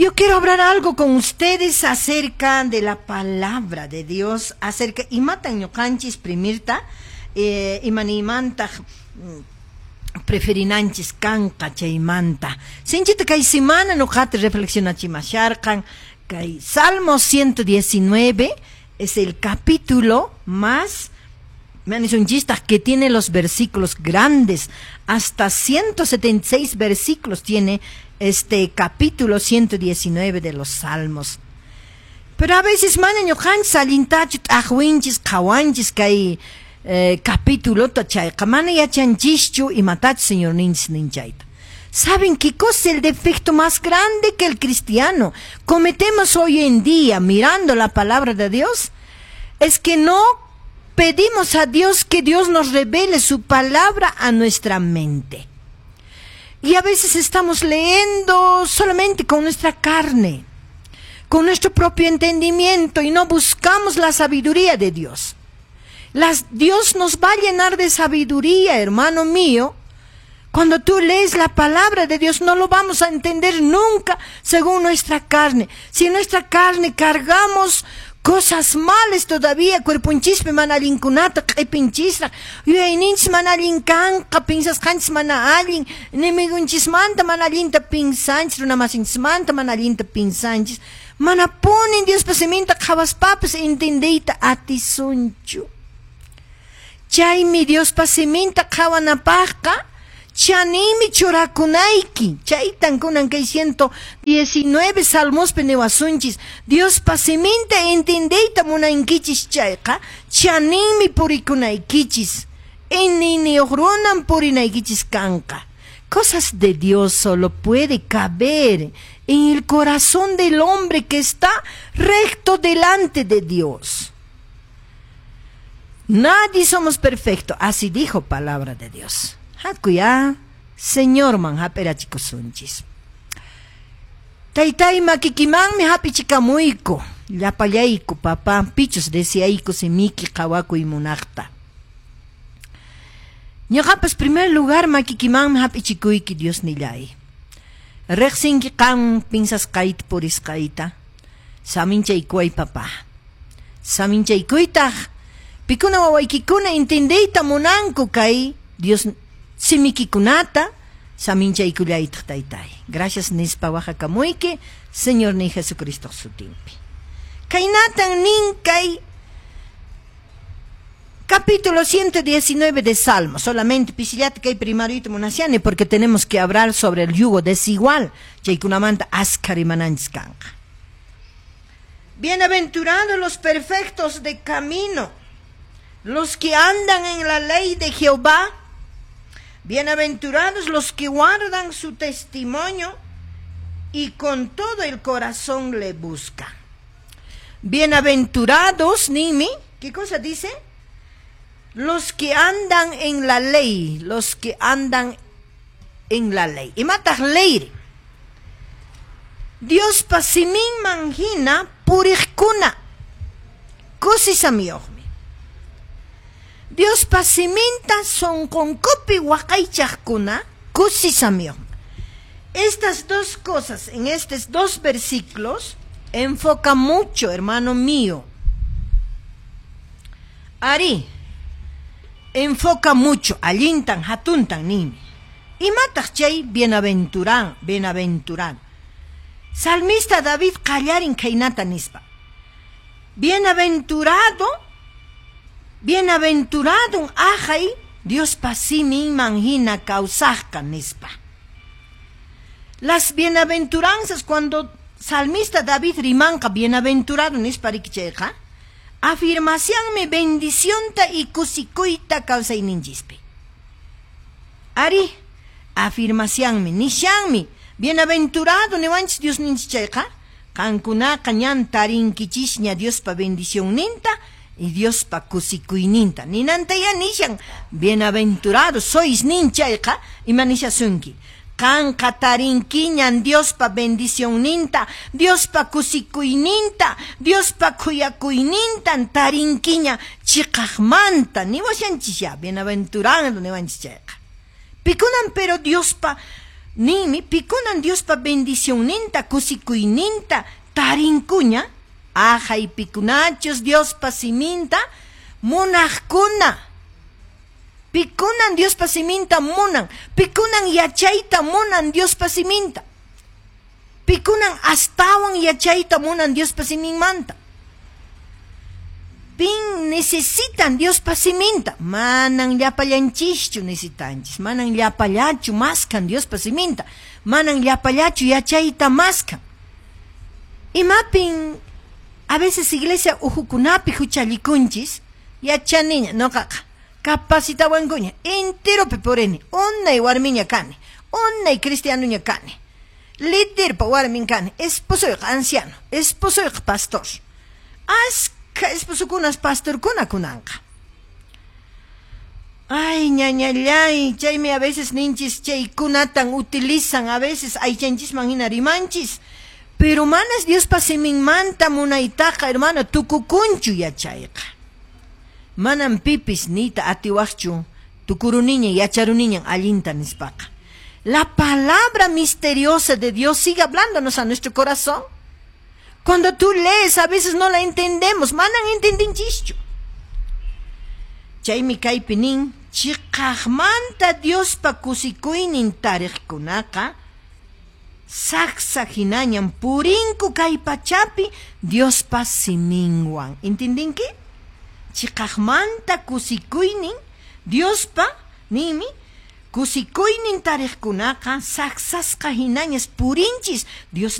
Yo quiero hablar algo con ustedes acerca de la palabra de Dios, acerca imatan ñuqanchis primirta imanimantaq preferinanchis kanqa chaymanta. Sinchita kay semana ñuqata reflexionachimasharqan kay Salmo 119 es el capítulo más que tiene los versículos grandes, hasta 176 versículos tiene este capítulo 119 de los Salmos. Pero a veces mana ñuqanchis allintachu t'aqwinchis qhawanchis kay capítulo chayqa mana yachanchischu imatachu Señorninchis nin chayta. ¿Saben qué cosa es el defecto más grande que el cristiano cometemos hoy en día mirando la palabra de Dios? Es que no pedimos a Dios que Dios nos revele su palabra a nuestra mente. Y a veces estamos leyendo solamente con nuestra carne, con nuestro propio entendimiento y no buscamos la sabiduría de Dios. Dios nos va a llenar de sabiduría, hermano mío. Cuando tú lees la palabra de Dios, no lo vamos a entender nunca según nuestra carne. Si en nuestra carne cargamos cosas malas todavía, cuerponchispi mana allinkunata q'ipinchisraq, yuyayninchis mana allin kanqa, pinsasqanchis mana allin, enemigonchismanta mana allinta pinsanchis, runamasinchismanta mana allinta pinsanchis, manapunin Diospa siminta qhawaspapas entendeyta atisunchu. Chaymi Diospa siminta qhawanapaqqa chanimi churakunayki. Chaytan kunan kay 119 salmospi niwasunchis. Diospa siminta entendeyta munankichis chayqa chaninmi purikunaykichis. Iñiyniyuq runan purinaykichis kanqa. Cosas de Dios solo puede caber en el corazón del hombre que está recto delante de Dios. Nadie somos perfectos, así dijo palabra de Dios. Hakuya, Señorman hap'irachikusunchis. Taytay makikimanmi hap'ichikamuyku, llapallayku papá, pichus deseayku simiki qhawakuy munaqta. Ñuqapas primer lugar makikimanmi hap'ichikuyki Diosnillay. Riqsinki qan pinsasqayta purisqayta, saminchaykuway papá. Saminchaykuytaq, pikuna wawaykikuna entendeyta munanku kay Dios simikikunata saminchaykullaytaq taytay. Gracias nispa waqakamuyki Señor ni Jesucristo sutinpi. Kaynatan nin kay capítulo 119 de Salmo. Solamente pisillata kay primarito munasiani porque tenemos que hablar sobre el yugo desigual. Chaykunamanta askha rimananchis kanqa. Bienaventurados los perfectos de camino, los que andan en la ley de Jehová. Bienaventurados los que guardan su testimonio y con todo el corazón le buscan. Bienaventurados, ninmi, ¿qué cosa dice? Los que andan en la ley, los que andan en la ley. Imataq ley. Diospa siminman hina puriqkuna. Kusisamiyuqmi. Diospa siminta sunqunkupi waqaychaqkuna kusisamiyuqmi. Estas dos cosas, en estos dos versículos, enfoca mucho, hermano mío. Ari, enfoca mucho, allintan, hatuntan, ninmi. Imataq chay bienaventuran, bienaventurado. Salmista David qallarin khaynata nispa. Bienaventurado, bienaventurado ahay Diospa siminman hina kawsaqqa nispa. Las bienaventuranzas cuando salmista David rimanqa bienaventurado nispa riki chayqa, afirmacionmi bendicionta y kusikuyta kawsayninchispi. Ari, afirmacionmi, nishanmi, bienaventurado niwanchis Diosninchis chayqa, qankunaqa ñan tarinkichisña Diospa bendicionninta y Diospa kusikuyninta. Ninantaya nishan, bienaventurado sois nin chayqa, ima nishasunki. Qanqa tarinkiñan Diospa bendicionninta, Diospa kusikuyninta, Diospa khuyakuynintan tarinkiña chiqaqmanta, niwashanchisya, bienaventurado niwanchis chayqa. Pikunan pero Diospa Ninmi pikunan Diospa bendicionninta, kusikuyninta tarinkuña, ahay pikunachus Diospa siminta munaqkuna. Pikunan Diospa siminta munan, pikunan yachayta munan Diospa siminta. Pikunan astawan yachayta munan Diospa siminmanta. Pin necesitan Diospa siminta, manan llapallanchischu necesitanchis, manan llapallachu maskan Diospa siminta, manan llapallachu yachayta maskan. Imapin a veces iglesia uhukunapi huchallikunchis, yachaniña noqaqa capacitawankuña, enteropi purini, unay warmiña kani, unay cristianoña kani, liderpa warmin kani, esposoyqa anciano, esposoyqa pastor. Askha esposokunas pastorkuna kunanqa. Ay, ñañallay, chaymi a veces ninchis chaykunatan utilizan, a veces aychanchisman hina rimanchis. Pero manas Diospa siminmanta munaytaqa, hermano, tukukunchu yachayqa. Manam pipis niyta atiwaqchu tukuruniña yacharuniñan allinta nispaqa. La palabra misteriosa de Dios sigue hablándonos a nuestro corazón. Cuando tú lees, a veces no la entendemos, manan entendinchischu. Chaymi kaypi nin, chiqaqmanta Diospa kusikuynin tariqkunaqa saksa hinañan purinku kay pachapi Diospa siminwan. Entendinki? Chiqaqmanta kusikuynin Diospa ninmi kusikuynin tariqkunaqa saksasqa hinañas purinchis Dios.